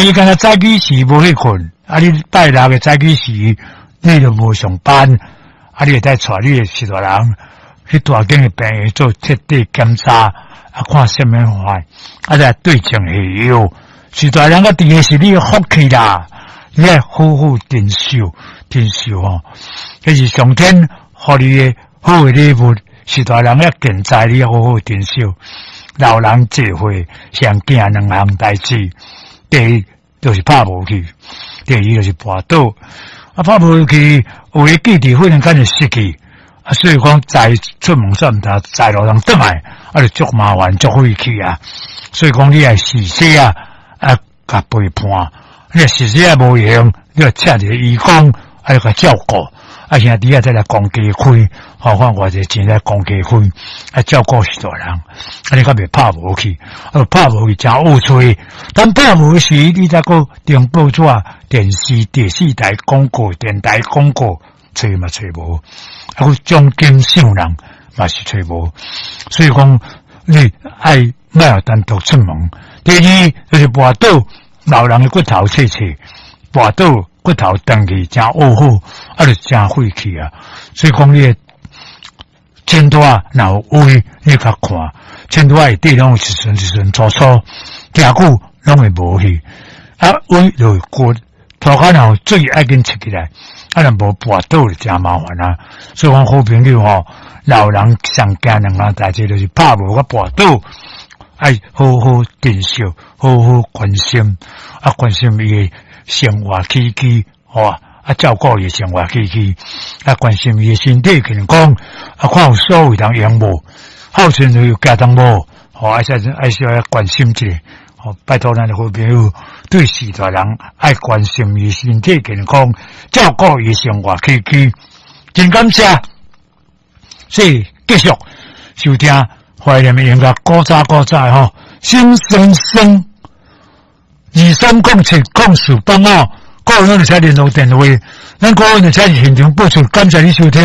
伊敢若早起時無去睏，啊！你拜六的早起時，你就無上班，啊！你會使帶你的序大人去大間的病院做徹底檢查，啊，看啥物壞，啊，再對症下藥。序大人佮佇的是你的福氣啦，你愛好好珍惜，珍惜吼，這是上天予你的好的禮物。序大人猶健在，你要好好珍惜。老人濟歲，上驚兩項代誌。第一就是拍無去，第二就是跋倒。啊，拍無去，有的記憶忽然間就失去。啊，所以講載出門煞毋通載老人轉來，啊，就足麻煩，足費氣啊。所以講你愛事先啊，啊，共陪伴。你若事先無閒，你就請一個義工，啊，共照顧。啊，兄弟啊，再來公家開，吼，看偌濟錢來公家開，啊，照顧序大人，啊，你較袂拍無去，啊，拍無去誠惡揣。當拍無時，你才閣登報紙、電視、第四台廣告、電台廣告，揣嘛揣無，啊，閣獎金賞人嘛是揣無。所以講，你愛莫予單獨出門。第二就是跋倒，老人的骨頭脆脆，跋倒。骨頭斷去誠惡好，啊，就誠費氣啊！所以講，你的前桌仔若有位，你較看前桌仔內底攏有一寸一寸粗粗，行久攏會無去。啊，位就是骨，塗跤若有水愛緊切起來，啊，若無跋倒就誠麻煩啊！所以講，好朋友吼，老人上驚兩項代誌，就是拍無佮跋倒，愛好好珍惜，好好關心，啊，關心伊的生活起居，吼啊，照顧伊生活起居，啊，關心伊的身體健康，啊，看有所謂通用無，孝順有行動無，吼，愛愛小可關心一下，吼，拜託咱的好朋友，對序大人愛關心伊身體健康，照顧伊生活起居，真感謝，所以繼續收聽懷念的音樂，古早古早吼，心酸酸。230704放哦，各位攏會使聯絡電話，咱各位會使現場播出，感謝你收聽。